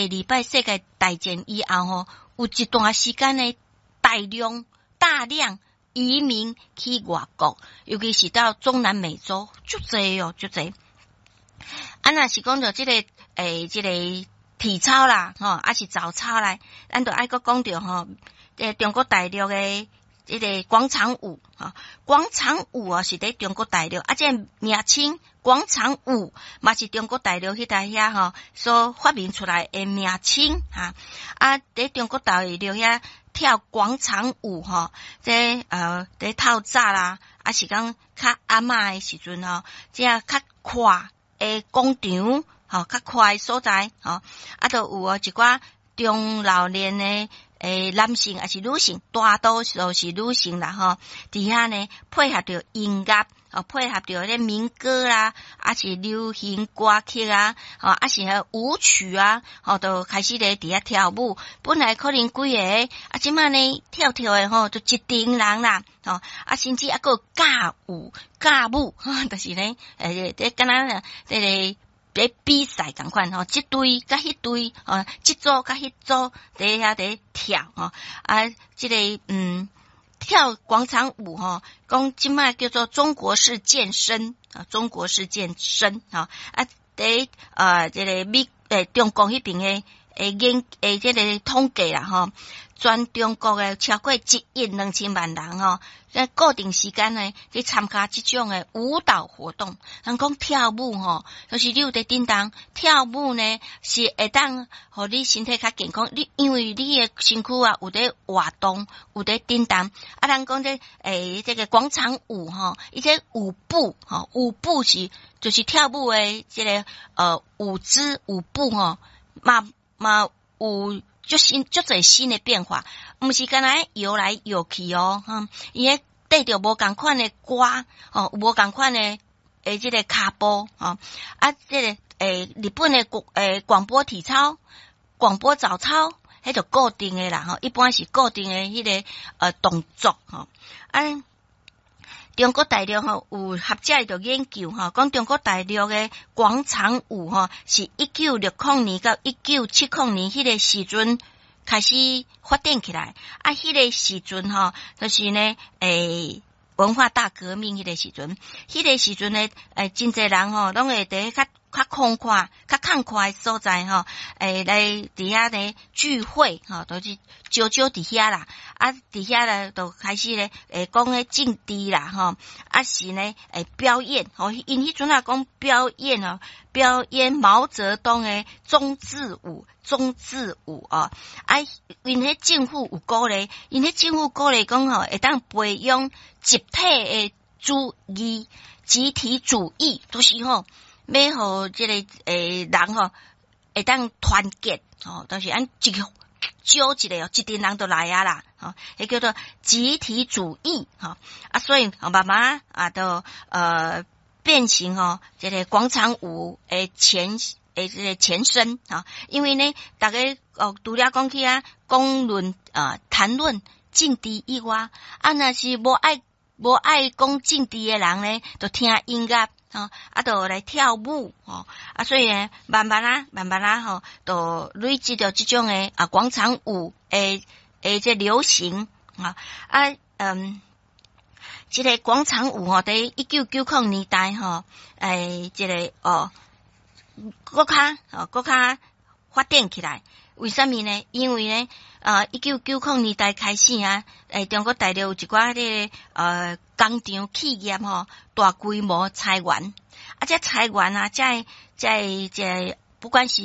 二擺世界大戰以後吼，有一段時間呢，大量大量移民去外國，尤其是到中南美洲，足濟哦，足濟。啊，若是講著這个這个體操啦，吼，抑是早操啦，咱就愛閣講著吼，中國大陸的這个廣場舞，吼，廣場舞啊是佇中國大陸，啊，這个名稱廣場舞嘛是中國大陸彼搭遐吼所發明出來的名稱，哈，啊，佇中國大陸遐跳廣場舞吼，這佇透早啦，抑是講較暗暝的時陣吼，這較闊的廣場，吼，較闊的所在，吼，啊，就有哦一寡中老年的男性抑是女性，大多數是女性啦，吼，佇遐呢配合著音樂，哦，配合著彼民歌啦，抑是流行歌曲啊，吼，抑是彼舞曲啊，吼，就開始咧佇遐跳舞。本來可能幾个，啊，這擺呢跳跳的吼，就一陣人啦，吼，啊，甚至猶閣有尬舞、尬舞，就是呢，這敢若這个咧比賽仝款吼，這隊佮彼隊，吼，這組佮彼組佇遐佇跳吼，啊，這个跳廣場舞吼，講這擺叫做中國式健身啊，中國式健身吼，啊，佇這个美中國彼爿的研這个統計啦吼，全中國的超過1億2千萬人吼，在固定時間呢去參加這種的舞蹈活動。人講跳舞吼，就是你有佇振動跳舞呢，是會當予你身體較健康。你因為你的身軀啊有佇活動，有佇振動。啊，人講這這个廣場舞吼，伊這舞步吼，舞步是就是跳舞的這个舞姿舞步吼，嘛嘛有足新足濟新的變化，毋是干焦搖來搖去哦，哈，伊咧綴著無仝款的歌，吼，無仝款的這个跤步，吼，啊，這个日本的廣播體操、廣播早操，彼就固定的啦，吼，一般是固定的彼个動作，吼，啊。中國大陸吼有學者就研究吼，講中國大陸的廣場舞吼，是1960年到1970年彼個時陣開始發展起來。啊，彼個時陣吼，就是呢，文化大革命彼個時陣，彼個時陣呢，真濟人吼，攏會佇較較空曠、較空曠的所在吼，來佇遐咧聚會吼，都是招招佇遐啦。啊，佇遐咧就開始咧，講彼政治啦，吼，抑是呢，表演吼，𪜶彼陣啊講表演哦，表演毛澤東的忠字舞，忠字舞哦。啊，𪜶彼政府有鼓勵，𪜶彼政府鼓勵講吼，會當培養集體的主義、集體主義，就是吼，欲予這个人吼會當團結吼，就是按一個招一個哦，一陣人就來啊啦，吼，彼叫做集體主義吼，啊，所以慢慢啊，就變成吼這个廣場舞的前的這个前身啊，因為呢，逐家哦，除了講起啊，講論啊，談論政治以外，啊，若是無愛講政治的人呢，就聽音樂。吼，啊，就來跳舞，吼，啊，所以呢，慢慢啊，慢慢啊，吼，就累積著這種的啊廣場舞的這流行，啊，啊，這个廣場舞吼，佇1990年代吼，這个哦，閣較吼，閣較發展起來。為啥物呢？因為呢，1990年代開始啊，中國大陸有一寡這個工廠企業吼，大規模裁員，啊，這裁員啊，這這這不管是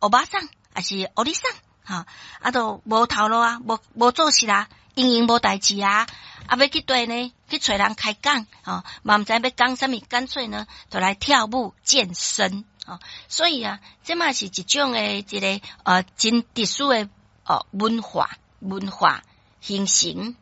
歐巴桑抑是歐尼桑，吼，啊，都無頭路啊，無做事啦，閒閒無代誌啊，啊，欲去佗呢，去揣人開講，吼，嘛毋知欲講啥物，乾脆呢，就來跳舞健身。哦，所以啊，這嘛是一種的一个真特殊的哦文化形成。